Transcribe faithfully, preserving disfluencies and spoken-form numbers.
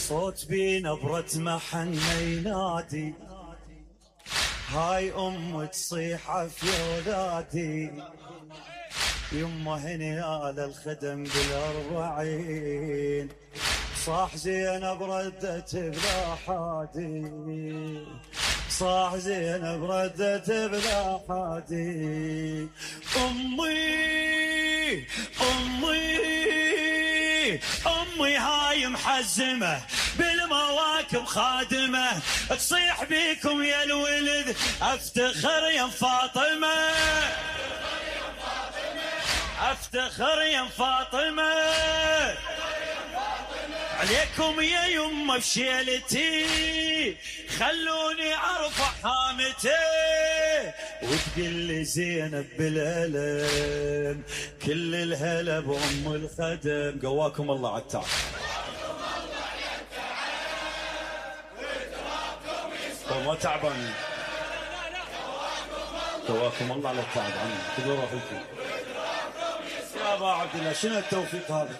صوت بنبرة محنة ينادي هاي أم تصيح عفي ولادي يمه هني على الخدم بالأربعين صاح زينب ردت بلا حادي صاح زينب ردت بلا حادي أمي أمي أمي هاي محزمة بالمواكب خادمة تصيح بيكم يا الولد افتخر يا فاطمة افتخر يا فاطمة عليكم يا يمه بشيلتي خلوني ارفع حامتي وتقول لي زينب بالالم كل الهلا بام الخدم. قواكم الله على التعب ما تعبان قواكم الله على التعب عني خذوا راحتكم يا ابا عبد الله شنو التوفيق هذا.